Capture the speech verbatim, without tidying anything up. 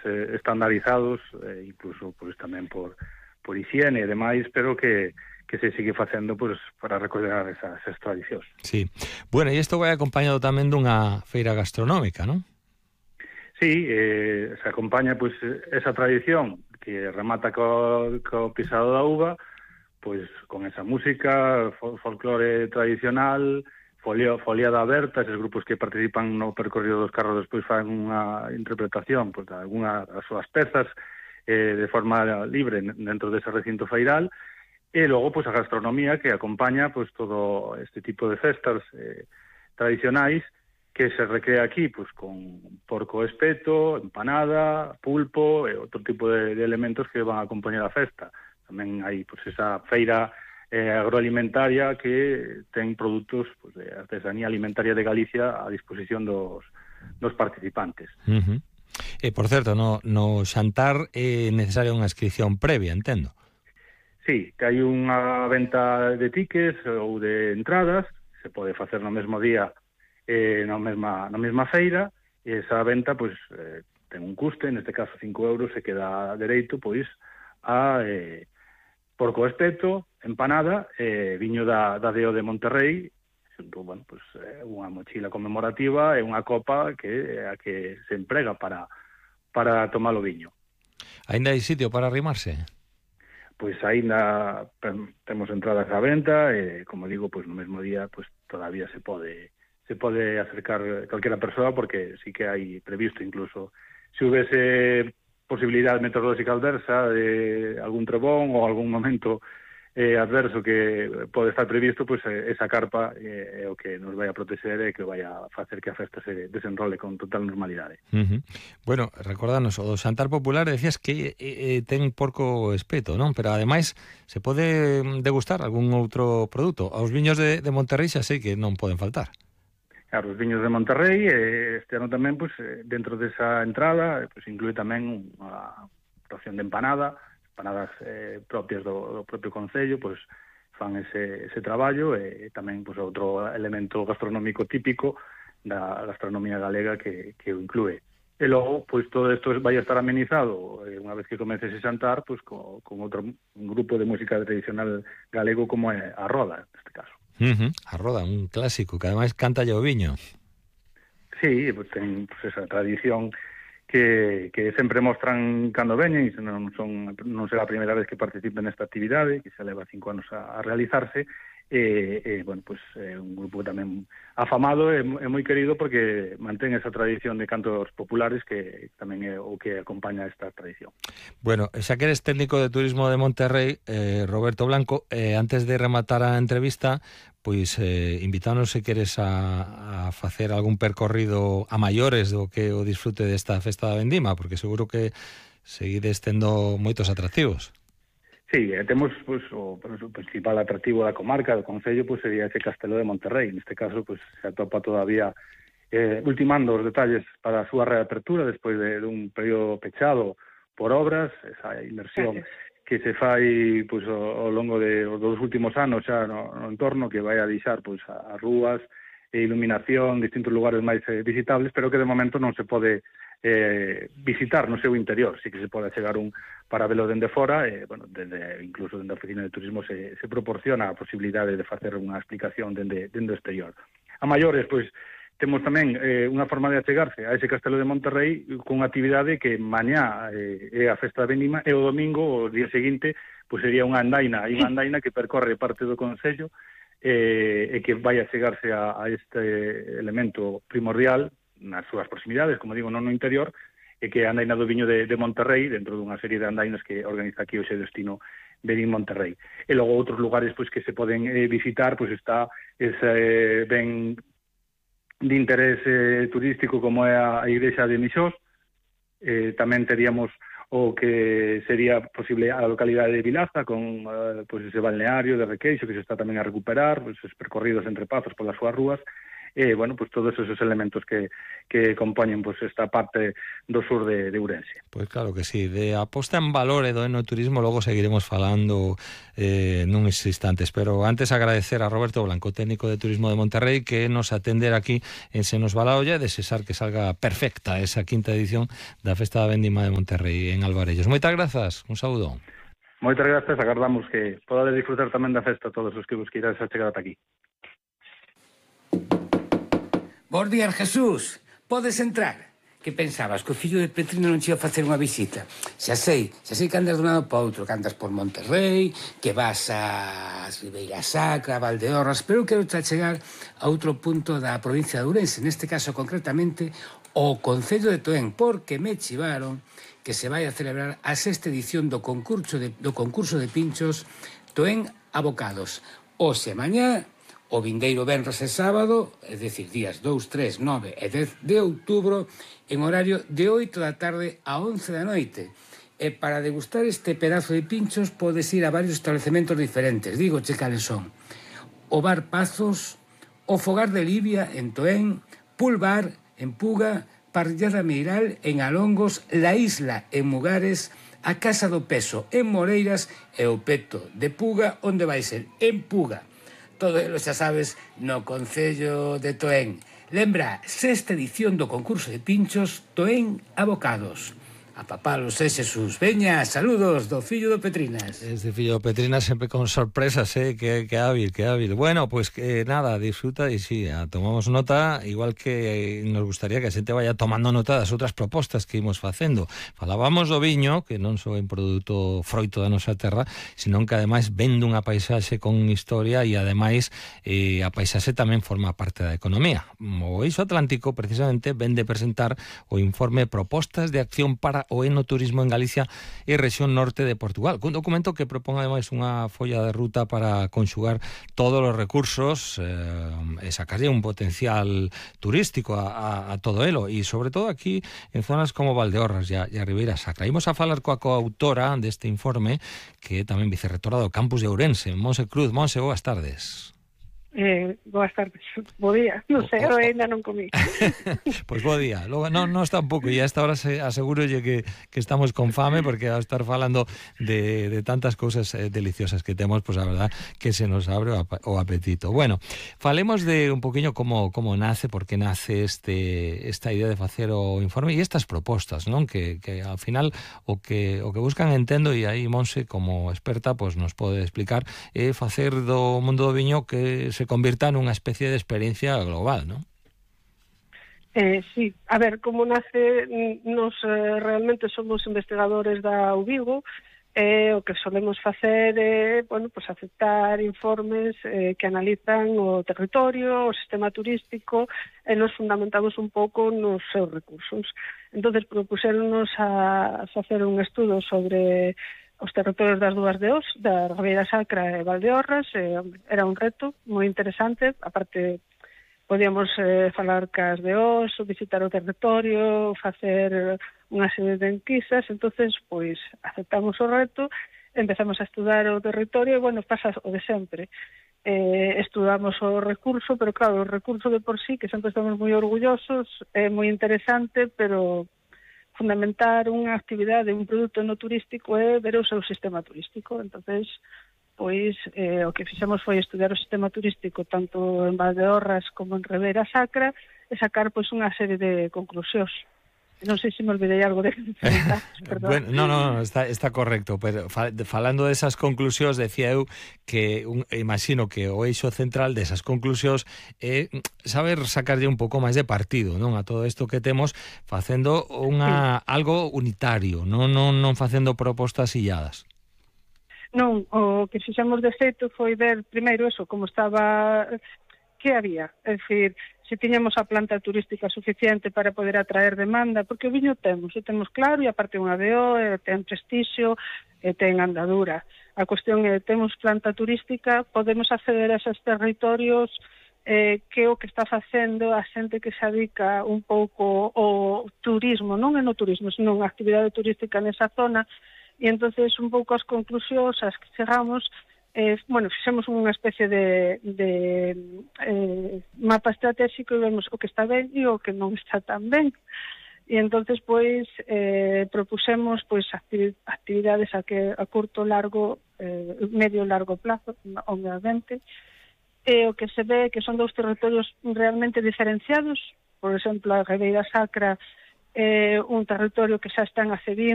eh, estandarizados, eh, incluso pois tamén por, por higiene e demais, pero que, que se sigue facendo pois, para recordar esas, esas tradicións. Sí. Bueno, e isto vai acompañado tamén dunha feira gastronómica, non? Sí, eh, se acompaña pois esa tradición que remata co, co pisado da uva, pois con esa música, fol folclore tradicional, folio, foliada aberta, esos grupos que participan no percorrido dos carros despois fan unha interpretación pois, de algunha das súas pezas eh, de forma libre dentro dese recinto feiral, e logo pois a gastronomía que acompaña pois todo este tipo de festas eh, tradicionais que se recrea aquí pois con porco espeto, empanada, pulpo e outro tipo de, de elementos que van a acompañar a festa. Tamén hai pois esa feira eh, agroalimentaria que ten produtos pois, de artesanía alimentaria de Galicia a disposición dos, dos participantes. Uh-huh. E, por certo, no, no xantar é necesaria unha inscripción previa, entendo. Sí, que hai unha venta de tickets ou de entradas, se pode facer no mesmo día eh, na, mesma, na mesma feira, e esa venta pois, eh, ten un custe, neste caso cinco euros, e queda dereito pois a eh, porco espeto, empanada, eh, viño da, da D O de Monterrey, xunto, bueno, pues, eh, unha mochila conmemorativa e unha copa que a que se emprega para, para tomar o viño. Ainda hai sitio para arrimarse? Pois aínda temos entradas á venta e, como digo, pois no mesmo día pois todavía se pode se pode acercar calquera persoa, porque sí que hai previsto incluso se houvese posibilidade meteorolóxica adversa de algún trebón ou algún momento eh, adverso que pode estar previsto, pois eh, esa carpa é eh, o que nos vai a proteger e que vai a facer que a festa se desenrole con total normalidade. Uh-huh. Bueno, recordanos, o do xantar popular decías que eh, ten porco espeto, non? Pero ademais se pode degustar algún outro produto. Aos viños de, de Monterrey xa sei que non poden faltar. Claro, os viños de Monterrey, eh, este ano tamén, pois, dentro desa entrada, pois, inclúe tamén unha ración de empanada, empanadas eh, propias do, do propio concello, pois, fan ese, ese traballo, e tamén pois, outro elemento gastronómico típico da gastronomía galega que, que o inclúe. E logo, pois, todo isto vai a estar amenizado, eh, unha vez que comece ese xantar, pois, co, con outro un grupo de música tradicional galego como é a Roda, neste caso. Uh-huh. A Roda, un clásico, que ademais canta o viño. Sí, pues, ten pues, esa tradición que, que sempre mostran cando veñen, e non, son, non será a primeira vez que participen nesta actividade, que xa leva cinco anos a, a realizarse, e, e bueno, pues, é un grupo tamén afamado e, e moi querido porque mantén esa tradición de cantos populares que tamén é o que acompaña esta tradición. Bueno, xa que eres técnico de turismo de Monterrey, eh, Roberto Blanco, eh, antes de rematar a entrevista, pois eh, invítanos se queres a, a facer algún percorrido a maiores do que o disfrute desta festa da vendima, porque seguro que seguides tendo moitos atractivos. Sí, eh, temos pues, o, o principal atractivo da comarca, do concello, pues, sería ese Castelo de Monterrey. Neste caso, pues, se atopa todavía eh, ultimando os detalles para a súa reapertura despois de, de un período pechado por obras, esa inversión que se fai pues, ao, ao longo de, dos últimos anos xa no, no entorno, que vai a deixar pues, as rúas e iluminación, distintos lugares máis eh, visitables, pero que de momento non se pode eh, visitar no seu interior. Sí que se pode chegar un para velo dende fora, e, bueno, dende, incluso dende a oficina de turismo se, se proporciona a posibilidade de facer unha explicación dende, dende o exterior. A maiores, pois, temos tamén eh, unha forma de achegarse a ese Castelo de Monterrey con unha actividade que mañá eh, é a festa da vendima, e o domingo, o día seguinte, pois sería unha andaina, hai unha andaina que percorre parte do concello eh, e que vai a chegarse a, a este elemento primordial nas súas proximidades, como digo, non no interior, e que é a andaina do viño de, de Monterrey, dentro dunha serie de andainas que organiza aquí o seu destino Verín Monterrey. E logo outros lugares pois que se poden eh, visitar, pois está ese eh, ben de interés eh, turístico como é a, a igrexa de Mixós. Eh, tamén teríamos o que sería posible a localidade de Vilaza, con eh, pois ese balneario de Requeixo que se está tamén a recuperar, pois os percorridos entre pazos polas súas rúas, e, bueno, pues todos esos elementos que, que compoñen pues esta parte do sur de, de Ourense. Pois claro que sí, de aposta en valor e do enoturismo logo seguiremos falando eh, nuns instantes, pero antes agradecer a Roberto Blanco, técnico de Turismo de Monterrey, que nos atender aquí en Se nos va la olla e desexar que salga perfecta esa quinta edición da Festa da Vendima de Monterrey en Alvarellos. Moitas grazas, un saúdo. Moitas grazas, agardamos que podades disfrutar tamén da festa todos os que vos queirais a chegar ata aquí. Bos días, Jesús. Podes entrar. Que pensabas? Que o fillo de Petrino non che ia facer unha visita? Xa sei, xa sei que andas de un lado para outro, que andas por Monterrey, que vas a Ribeira Sacra, a Valdeorras, pero eu quero te chegar a outro punto da provincia de Ourense, neste caso concretamente o Concello de Toén, porque me chivaron que se vai a celebrar a sexta edición do concurso de, do concurso de pinchos Toén Abocados. Hoxe mañá, o vindeiro venres e sábado, é dicir, días dous, tres, nove e dez de outubro, en horario de oito da tarde a once da noite. E para degustar este pedazo de pinchos podes ir a varios establecementos diferentes. Digo, che cales son: o Bar Pazos, o Fogar de Libia en Toén, Pool Bar en Puga, Parrillada Meiral en Alongos, La Isla en Mugares, a Casa do Peso en Moreiras e o Peto de Puga, onde vai ser en Puga. Todo elo, xa sabes, no Concello de Toén. Lembra, sexta edición do concurso de pinchos Toén Abocados. A papalos e Xesús. Veña, saludos do fillo do Petrinas. Este fillo do Petrinas sempre con sorpresas, eh, que, que hábil, que hábil. Bueno, pues que nada, disfruta e sí, tomamos nota, igual que nos gustaría que a xente vaya tomando nota das outras propostas que imos facendo. Falábamos do viño, que non só é un produto froito da nosa terra, senón que ademais vende unha paisaxe con historia e ademais eh, a paisaxe tamén forma parte da economía. O Eixo Atlántico precisamente vende presentar o informe Propostas de Acción para o Enoturismo en Galicia e rexión norte de Portugal, cun documento que propón ademais unha folla de ruta para conxugar todos os recursos eh, e sacarlle un potencial turístico a, a, a todo elo, e sobre todo aquí en zonas como Valdeorras e a, e a Ribeira Sacra. Imos a falar coa coautora deste informe, que é tamén vicerrectora do campus de Ourense, Monse Cruz. Monse, boas tardes. Eh, boas tardes, bo día, non sei, eu ainda non comí. Pois pues bo día, logo non, non está un pouco, e a esta hora se asegurolle que, que estamos con fame, porque ao estar falando de, de tantas cousas eh, deliciosas que temos, pois pues a verdad que se nos abre o, ap o apetito. Bueno, falemos de un poquinho como, como nace, porque nace este esta idea de facer o informe e estas propostas, non? Que, que ao final o que o que buscan, entendo, e aí Monse como experta pois pues nos pode explicar, é facer do mundo do viño que se convirta nunha especie de experiencia global, ¿no? Eh, sí, a ver, como nace, nos eh, realmente somos investigadores da U Vigo, eh, o que solemos facer é, eh, bueno, pues aceptar informes eh, que analizan o territorio, o sistema turístico, e nos fundamentamos un pouco nos seus recursos. Entonces, propuxéronos a facer un estudo sobre os territorios das dúas de Os, da Ribeira Sacra e Valdeorras. Eh, era un reto moi interesante, aparte podíamos eh, falar cas de Os, visitar o territorio, facer unha serie de enquisas. Entonces, pois, aceptamos o reto, empezamos a estudar o territorio e, bueno, pasa o de sempre. Eh, estudamos o recurso, pero claro, o recurso de por sí, que sempre estamos moi orgullosos, é moi interesante, pero fundamentar unha actividade, un produto no turístico é ver o seu sistema turístico. Entonces, pois, eh, o que fixemos foi estudiar o sistema turístico tanto en Valdeorras como en Ribeira Sacra e sacar pois unha serie de conclusións. Non sei se me olvidei algo de perdón. Bueno, no, no, está, está correcto, pero falando desas conclusións, decía eu que un, imagino que o eixo central desas conclusións é saber sacarlle un pouco máis de partido, non, a todo isto que temos, facendo unha sí. algo unitario, non, non, non facendo propostas illadas. Non, o que fixemos de feito foi ver primeiro eso, como estaba, que había, é dicir, se tiñamos a planta turística suficiente para poder atraer demanda, porque o viño temos, o temos claro, e aparte unha B O, e ten prestixio, e ten andadura. A cuestión é, temos planta turística, podemos acceder a esos territorios, eh, que o que está facendo a xente que se dedica un pouco ao turismo, non é no turismo, senón a actividade turística nesa zona, e entonces un pouco as conclusións as que chegamos eh, bueno, fixemos unha especie de, de eh, mapa estratégico e vemos o que está ben e o que non está tan ben. E entonces pois eh, propusemos pois actividades a que a curto, largo, eh, medio e largo plazo, obviamente. E o que se ve que son dous territorios realmente diferenciados. Por exemplo, a Ribeira Sacra é un territorio que xa está en Acevín,